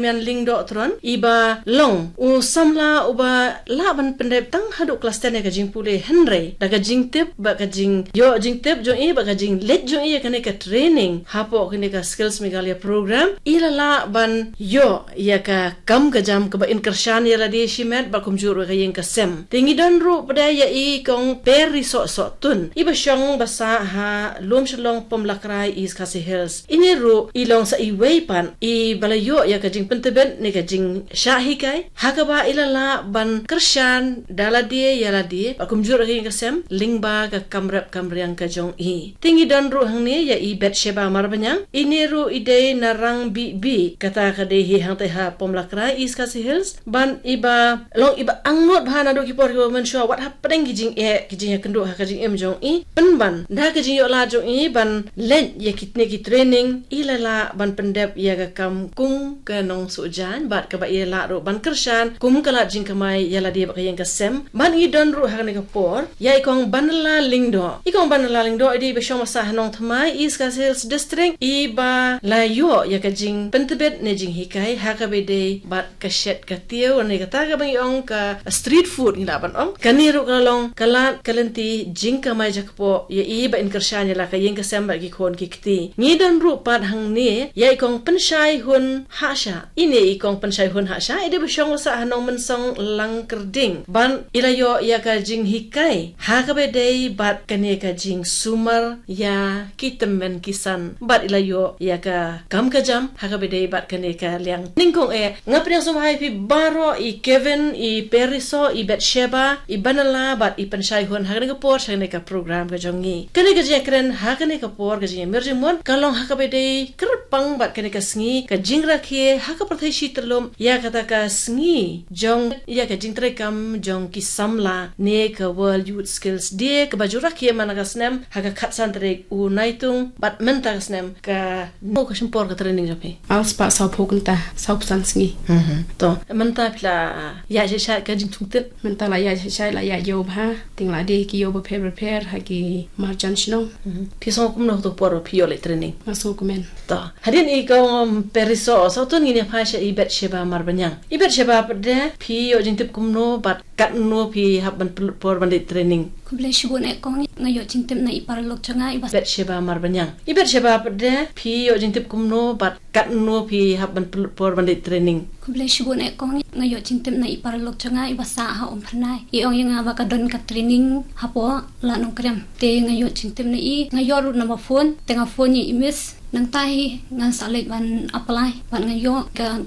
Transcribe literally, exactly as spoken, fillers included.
Mian Lyngdoh Tron, iba long u samla uba lah ban pyndep tang haduh klas ten ïa ka jingpule, hynrei da ka jingtip bad ka jingïoh jingtip jong i bad ka jingleit jong i ïa kane ka training hapoh kane ka Skills Meghalaya program, i la lah ban ïoh ïa ka kam ka jam kaba in kyrshan ïa lade shimet bad kumjuh ruh ka ïing ka sem. Te ngi don ruh pat ïa i Kong Perisoh Sohtun, iba shong ba sah ha Lumshillong Pomlakrai, East Khasi Hills. Ine ruh i long sa iwei pat iba la ïoh ïa ka jingpyntbit ne ka jingshah hikai, ha kaba i la lah ban kyrshan da lade ïa lade bad kumjuh ruh ka ïing ka sem lyngba ka kam rep kam riang ka jong i. Te ngi don ruh hangne ïa i Bathsheba Marbaniang, ine ruh i dei na Rangbibi, kata ka dei hi hangtei ha Pomlakrai, East Khasi Hills, bad iba long iba angnud bha naduh ki por kiba mynshuwa, wat hapdeng ki jingeh ki jingïakynduh ha ka jingim jong i, pynban da ka jingïoh lad jong i ban leit ïa kine ki training, i la lah ban pyndep ïa ka kam kum ka nongsuh jaiñ bad kaba i la lah ruh ban kyrshan kum ka lad jingkamai ïa lade bad ka ïing ka sem. Bad ngi don ruh ha kane ka por ïa i Kong Banla Lyngdoh. I Kong Banla Lyngdoh i dei iba shong ba sah ha Nongthymmai, East Khasi Hills District, iba la ïoh ïa ka jingpyntbit ne jinghikai ha kaba dei bad ka shet ka tiew ne kata kaba ngi ong ka street food ngi lah ban ong. Kane ruh ka long ka lad ka lynti jingkamai jakpoh ïa i ba in kyrshan ïa la ka ïing ka sem bad ki khun ki kti. Ngi don ruh pat hangne ïa i Kong Pynshai Hun Hashah. Ine i Kong Pynshai Hun Hashah i dei ba shong ba sah ha Nongmynsong Langkyrding, bad i la ïoh ïa ka jinghikai ha kaba dei bad kane ka jingsumar ïa ki tymmen ki san bad i la ïoh ïa ka kam ka jam ha kaba dei bad kane ka liang nyngkong eh. Nga pdiang sngewbha ïa phi baroh, i Kevin, i Perisoh, i Bathsheba, i Banla bad i Pynshai Hun ha kane ka por sha kane ka program ka jong ngi. Kane ka jingïakren ha kane ka por ka jingïamir jingmut ka long ha kaba dei kyrpang bad kane ka sngi ka jingrakhe ha ka pyrthei shi tyllup ïa kata ka sngi jong ïa ka jingtrei kam jong ki samla ne ka World Youth Skills Day kaba ju rakhe man la ka snem ha ka khatsan tarik u Naitung bad mynta ka snem ka, no ka shim por ka training jong phi? Ar spah sawphew kynta, sawphew san sngi. Mhm. To mynta phi la ïaid shai shai ka jingthung tip? Mynta la ïaid shai shai, la ïaid ïew bha, te nga la die ki ïew bapher bapher ha ki marjan shnong. Mhm. Phi sngew kumno ha kato ka por ba phi ïoh leit training? Nga sngewkmen. To hadien i Kong Perisoh Sohtun, ngin ïa phai sha i Bathsheba Marbaniang. I Bathsheba, pat de phi ïoh jingtip kumno bad katno phi hap ban pynlut por ban leit training? Khublei shibun eh Kong, nga ïoh jingtip na i paralok jong nga i Bathsheba Marbaniang. I Bathsheba, pat de phi ïoh jingtip kumno bad katno phi hap ban pynlut por ban leit training? Khublei shibun eh Kong, nga ïoh jingtip na i paralok jong nga iba sah ha Umphyrnai. I ong ïa nga ba ka don ka training hapoh Lad Nongkrem. Te nga ïoh jingtip na i, nga ïoh ruh number phone, te nga phone ïa i miss. Nangta hi ngan sa leit ban apply bad nga ïoh ka